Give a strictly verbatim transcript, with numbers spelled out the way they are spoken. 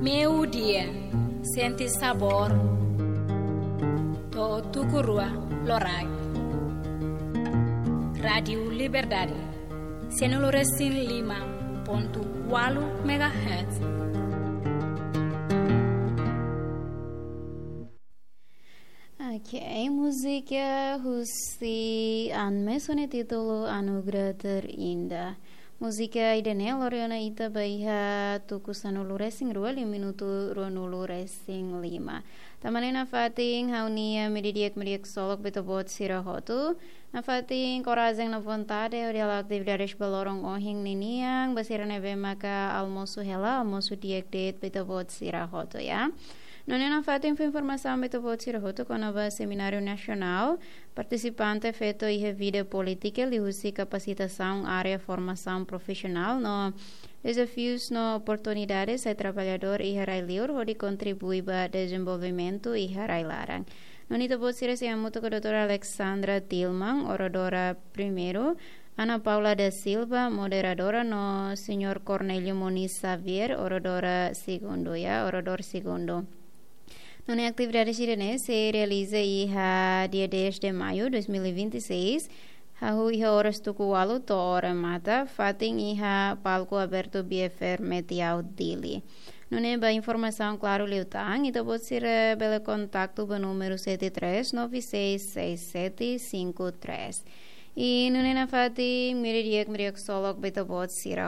Meiudia, sente sabór. To'o tuku rua loraik. Rádiu Liberdade, sianulu resin lima pontu ualu megahertz. Ok, múzika husi Anmes ho nia títulu Anugerah Terindah. Múzika ida-ne'e lori ona ita ba iha tuku sanulu resin rua liu minutu ruanulu resin lima. Tanba ne'e nafatin ha'u-nia meiudia di'ak, meiudia di'ak ksolok ba ita-boot sira hotu. Nafatin korajen no vontade hodi halo atividades ba loron ohin ninian, ba sira ne'ebé maka almosu hela, almosu di'ak de'it ba ita-boot sira hotu, ya. Nune'e nafatin fó informasaun ba ita-boot sira hotu kona-ba semináriu nasionál, partisipante feto iha vida polítika liuhusi kapasitasaun área formasaun profisionál no dezafius no oportunidades sai traballadór iha rai-liur hodi kontribui ba dezenvolvimentu iha rai-laran. Nune'e ita-boot sira sei hamutuk ho doutora Alexandra Tilman, oradora primeiru, Ana Paula da Silva, moderadora, no señór Cornélio Moniz Xavier, oradora segundu, ya, oradór segundu. Nune'e atividade sira-ne'e sei realiza iha dia dez de maio dois mil e vinte e seis, hahú iha oras tuku ualu to'o remata, fatin iha palku abertu Biefare Metiau Dili. Nune'e ba informasaun klaru liután, ita-boot sira bele kontaktu ba númeru sete três nove seis seis sete cinco três. I nune'e nafatin meiudia di'ak, meiudia di'ak ksolok ba ita-boot sira